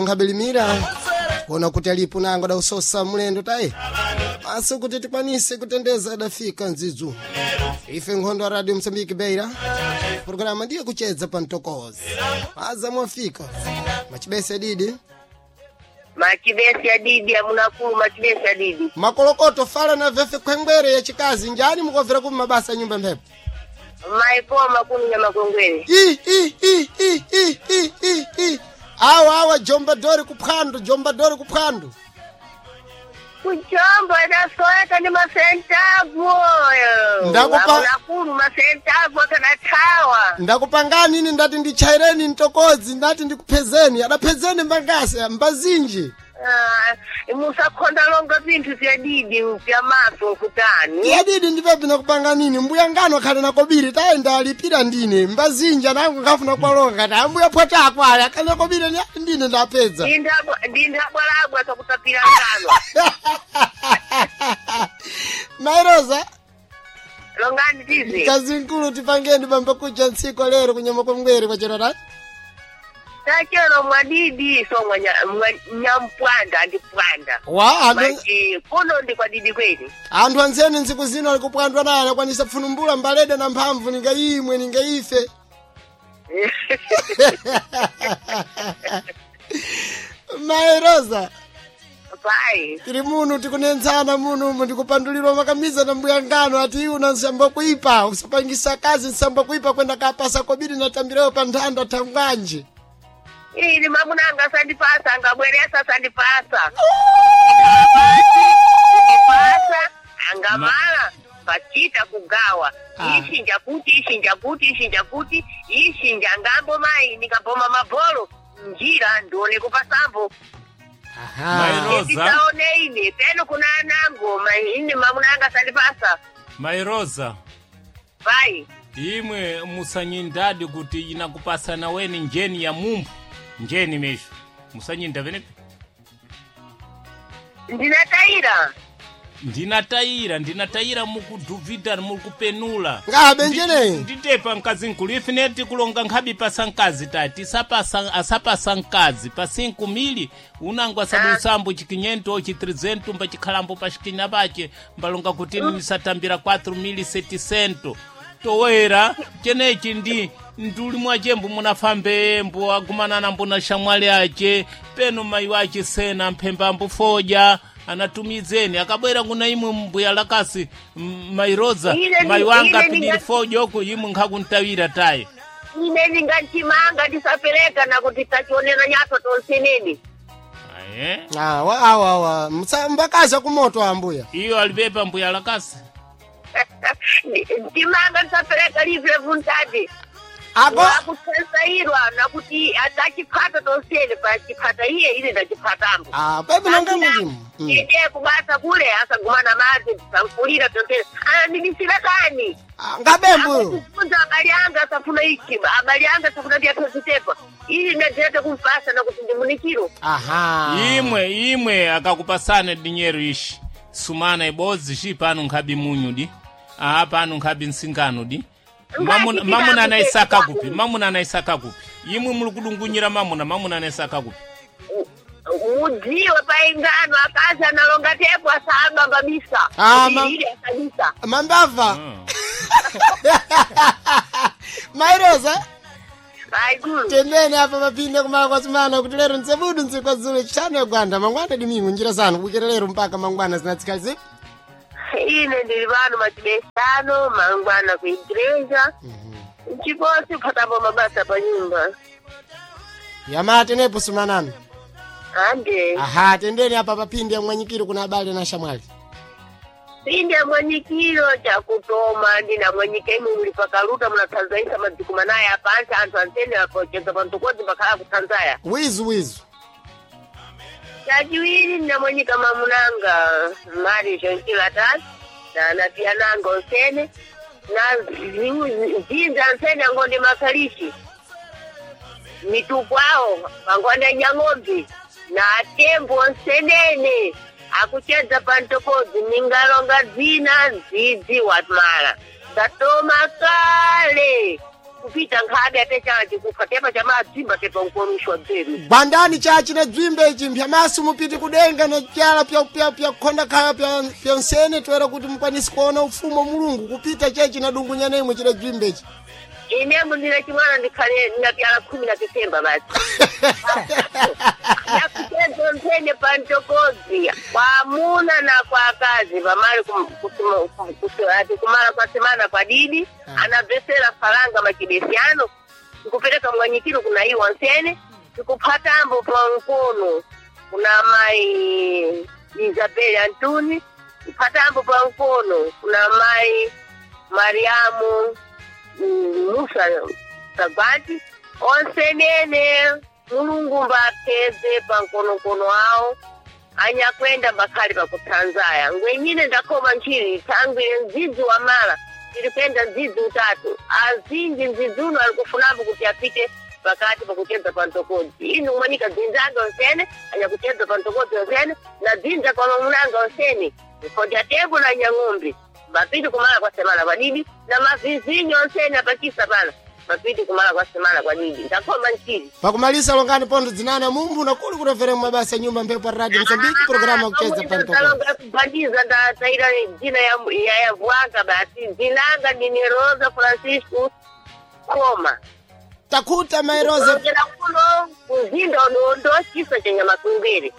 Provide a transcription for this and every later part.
Tunkabilimira kuona kuti alipo nango dausosa mulendo tayi maso kuti tikwanise kutendeza adafika ndzidzu ife nkhondo ya Radio Msambiki Beira programa ndiye kuchedza pa mtokozi aza mwafika machibese adidi. Machibesi adidi amunakulu machibesi adidi. Makolokoto fala na vefe khwengwere ya chikazi njani mukovera kuma mabasa ya nyumba mphepo. Maipoma kunu nyamakwengwere. I i i i i i i i awa awa jomba dori kuphwando, jomba dori kuphwando. Kujomba idasoeka ndi masentavu. Amunakulu masentavu akanathawa. Ndakupangani ine ndati ndichaireni mtokodzi, ndati ndikuphezeni adaphezeni mbangasi mbazinji. Ah, musakhonda longa vinthu vya didi vya maso nkutani. Yadidi ndipepi nakupanga nini mbuya ngano akhale nakobiri tayenda alipira ndine mbazinji anangu ngafuna kwalonga kati ambuya phwata ako ali akhale nakobiri ndine ndapedza. Ndinthabwalabwa sakutapira ngano. Mairoza. Longani tizi. Kazi nkulu tipangeni bamba kuja ntsiku lero kunyama kwa mngwere kwa chero rati. Tachero mwadidi so nyampwanda andipwanda. Wa anthu Maji kuno ndi kwa didi kweli. anthu anzeni ntsiku zino ali kupwandwa naye anakwanisa pfunumbula mbalede na mphamvu ninga imwe ninga ife. Mairoza. Pai. Tiri muno tikunenzana muno umu ndikupandulirwa makamiza na mbuya ngano ati iwe una nsamba kuipa usapangisa kazi nsamba kuipa kwenda kapasa kobiri natambirewo pa nthanda thangwanje. Ili mamunanga asandipasa angabweresa asandipasa. Ndipasa angamala pachita kugawa. Ah. Ishinja kuti ishinja kuti ishinja kuti ishinja ngambo mai nikapoma mabholo njira ndione kupasambo. Aha. Mairoza. Ndisaone ine peno kuna anango mai ine mamunanga asandipasa. Mairoza. Pai. Imwe musanyindadi kuti inakupasana weni njeni ya mumbu njeni mesho musanyinda venepi. Ndinatayira. Ndinatayira ndinatayira mukudhuvhidha mukupenula. Ngabe njeneyi. Nditepa mkazi nkulu ifine tikulonga nkhabi pasa mkazi ta tisapasa asapasa mkazi pa 5 mili unango asabu usambo chikinyento chi 300 mba chikhalambo pa chikinya pache mbalonga kuti nisatambira 4 mili 700 towera chenechi ndi nduli mwachembo munafambe mbo agumanana mbona shamwali ache peno mayi wache sena mphemba ambufoja anatumizeni akabwera kuna imwe mbuya lakasi mairoza mayi wanga pidiri foja oko imwe nkhakuntawira tayi. Ine ndinganchimanga ndisapereka nakuti tachionera nyaso tonseneni. Aye. Awa awa awa mbakazi akumoto ambuya. Iyo alipepa mbuya lakasi. Nchimanga ndisapereka livre vuntati. Ako Wakutsensairwa nakuti atachiphata tonsene pachiphata iye ine ndachiphatambo. Ah, pepi nonga mulimu. Ende kubasa kule asagumana madzi sankulira tonsene. Anandibisira kani? Ah, ngabembu. Kufunza abali anga asafuna ichi, abali anga asafuna ndiyatozitepa. Ili ndadileta kumpasa nakuti ndimunikiro. Aha. Imwe imwe akakupasana dinyeru ishi sumana ibodzi ci pano nkhabi munyu di aha pano nkhabi nsingano di. Mamuna mamuna anaisaka kupi mamuna anaisaka kupi imwe muli kudungunyira mamuna mamuna anaisaka kupi. Mudziwe paingano akazi analonga tepo asaba kabisa. Ah, Ili asabisa. Mambava. Mairoza. Aiguru. Tembeni apa mapinde kumala kwa sumana kuti lero ntsebudu ntsiku dzulo chitano ya gwanda mangwana dimingu njira zanu kukera lero mpaka mangwana zinatsika zipi. Ine ndili pano machibesano mangwana ku igreja. Chiposi kuphatapo mabasa pa nyumba. Yamate nepo sumanani. Ande. Aha, tendeni apa papinde ya mwanyikiro kuna abale na shamwali. Pinde mwanyikiro chakutoma ndina mwanyika imwe muli pakaluta munathanzaisa madziku manaya apansi anthu antsene apocheza pantokodzi pakhala kuthanzaya. Wizu wizu. Chachiwiri ndinamwanyika mamunanga mari jonkilatasi na anapiyananga onsene na zinza ansene angonde makalishi mitupu awo angonde nyang'ombe na atembo onsenene akuchedza pantokodzi ningalonga dzina ndzidzi watmala ndatoma kale. Kupita nkhabe ate chala chikufa tepa chamadzimba tepa nkorushwa bzeru. Gwandani chachi na dzwimbe ichi mpyamasu mupiti kudenga na pyala pya kukhonda khaya pya nsene toera kuti mukwanise kuona ufumu wa Mulungu kupita chechi na dungunyana imwe chida dzwimbe ichi. Inemu ndine chimwana ndikhale ndinapyala 10 Septemba basi. Yakucheza mphene pantokodzi kwa amuna na kwa akazi pamali ati kumala kwa semana kwa didi anabvesera falanga machibesiano tikupereka mwanyikiro kuna iwo nsene tikuphatambo pa mkono kuna mai Isabel Antuni kuphatambo pa mkono kuna mai Mariamu Musa Sagwati onsenene Mulungu mbapeze pankonokono awo anyakwenda mbakhali pakuthanzaya ngwenyine ndakhoma nchiri thangwire mdzidzi wa mala tiri kwenda mdzidzi utatu azinji mdzidzi uno ali kufunambo kuti apite pakati pakuchedza pantokodzi inu mwanika dzinzanga onsene anyakuchedza pantokodzi onsene na dzinza kwa mamunanga onsene mfodya tembo na nyang'ombe mapiti kumala kwa semana kwadidi na mavizinyo onsene apachisa pala mapiti kumala kwa semana kwadidi ndakhoma nchiri. Pakumalisa longani pondo dzinana mumbu na kuli kutoverera mabasa nyumba mphepo ya Radio Mozambique programa kucheza pantokodzi. Kubhandiza ndataira dzina ya yavwanga basi dzinanga ndine Rosa Francisco Koma. Takuta mai Rosa. Kuchokera kuno kuzinda udondo chisa cha nyamakwembere.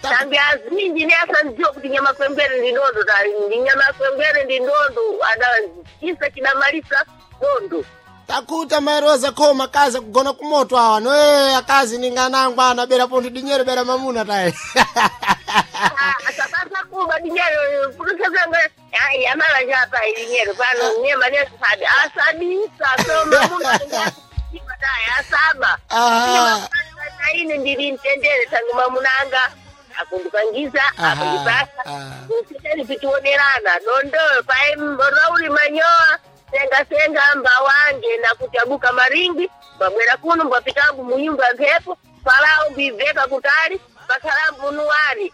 Tambi azinji ne asandziwa kuti nyamakwembere ndi ndondo ndi nyamakwembere ndi ndondo ada chisa chidamalisa dondo. Takuta mai Rosa Koma kazi kugona kumoto awa noe akazi ninganangwa anabera pondo dinyero bera mamuna tayi. Asabasa kuba dinyero pulukazanga yamala chapa dinyero pano nyema nesabi asabisa so mamuna tayi asaba. Ine ndili mtendere tangu mamunanga akundipangiza akundipasa kusitani pitionerana dondoyo pae rauli manyoa senga senga mbawange na kutabuka maringi mbabwera kuno mbapitambu munyumba mphepo palao mbiveka kutali pakhalambu nuwari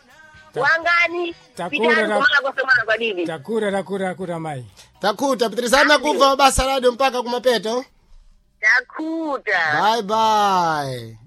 wangani pitani kumala kwa semana kwa didi. Takura takura takura mai. Takuta pitirizana kubva mabasa radio mpaka kumapeto. Takuta. Bye bye.